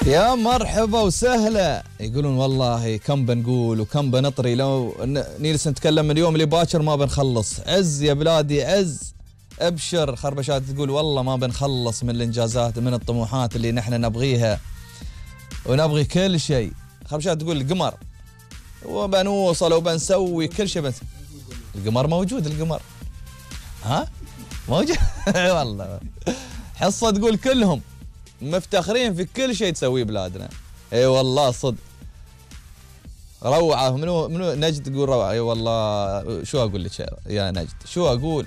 يا مرحبا وسهلا. يقولون والله كم بنقول وكم بنطري، لو نجلس نتكلم من اليوم اللي باكر ما بنخلص. عز يا بلادي عز، ابشر. خربشات تقول والله ما بنخلص من الانجازات، من الطموحات اللي نحن نبغيها ونبغي كل شيء. خربشات تقول القمر وبنوصل وبنسوي كل شيء، القمر موجود، القمر ها موجود والله. حصة تقول كلهم مفتخرين في كل شيء تسويه بلادنا. اي والله صدق روعة. منو نجد تقول روعة. اي والله شو اقول لك يا نجد، شو اقول.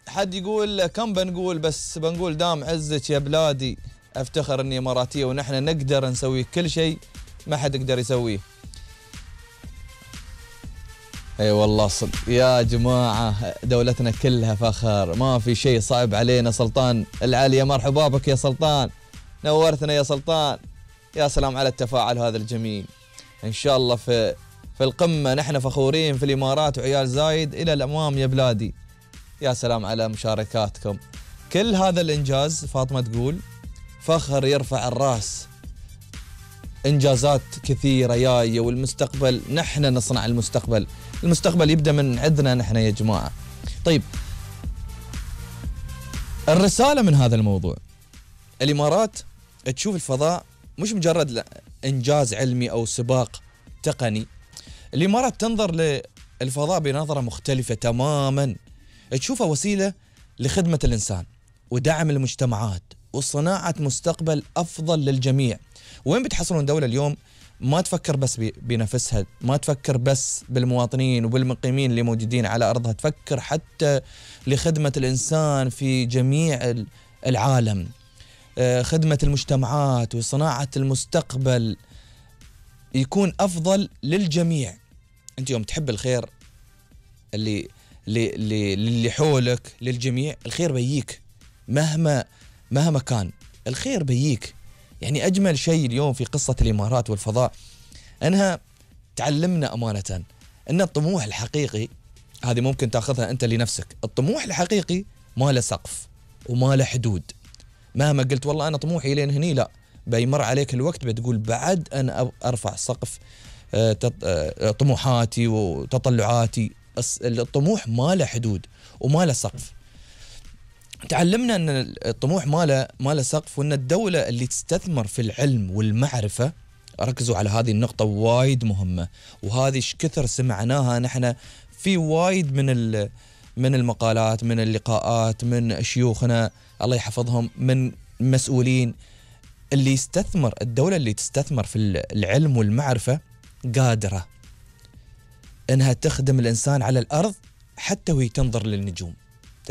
حد يقول كم بنقول، بس بنقول دام عزك يا بلادي. افتخر اني اماراتية ونحن نقدر نسوي كل شيء ما حد يقدر يسويه. اي والله صدق يا جماعة، دولتنا كلها فخر، ما في شيء صعب علينا. سلطان العالية مرحبا بك يا سلطان، نورتنا يا سلطان. يا سلام على التفاعل هذا الجميل. ان شاء الله في القمة نحن فخورين في الامارات وعيال زايد الى الامام يا بلادي. يا سلام على مشاركاتكم. كل هذا الانجاز فاطمة تقول فخر يرفع الراس. انجازات كثيرة جاية والمستقبل نحن نصنع المستقبل. المستقبل يبدأ من عندنا نحن يا جماعة. طيب الرسالة من هذا الموضوع، الإمارات تشوف الفضاء مش مجرد إنجاز علمي أو سباق تقني. الإمارات تنظر للفضاء بنظرة مختلفة تماما، تشوفها وسيلة لخدمة الإنسان ودعم المجتمعات وصناعة مستقبل أفضل للجميع. وين بتحصلون دولة اليوم ما تفكر بس بنفسها، ما تفكر بس بالمواطنين وبالمقيمين اللي موجودين على أرضها، تفكر حتى لخدمة الإنسان في جميع العالم، خدمة المجتمعات وصناعة المستقبل يكون أفضل للجميع. أنت يوم تحب الخير اللي حولك للجميع، الخير بيجيك مهما كان، الخير بيجيك. يعني أجمل شيء اليوم في قصة الإمارات والفضاء أنها تعلمنا أمانة أن الطموح الحقيقي هذه ممكن تأخذها أنت لنفسك. الطموح الحقيقي ما له سقف وما له حدود. مهما قلت والله أنا طموحي لين هني، لا، بيمر عليك الوقت بتقول بعد أنا أرفع سقف طموحاتي وتطلعاتي. الطموح ما له حدود وما له سقف. تعلمنا أن الطموح ما له سقف، وأن الدولة اللي تستثمر في العلم والمعرفة، ركزوا على هذه النقطة وايد مهمة، وهذه كثر سمعناها نحن في وايد من المقالات، من اللقاءات، من شيوخنا الله يحفظهم، من مسؤولين. اللي يستثمر، الدولة اللي تستثمر في العلم والمعرفة قادرة أنها تخدم الإنسان على الأرض حتى وهي تنظر للنجوم.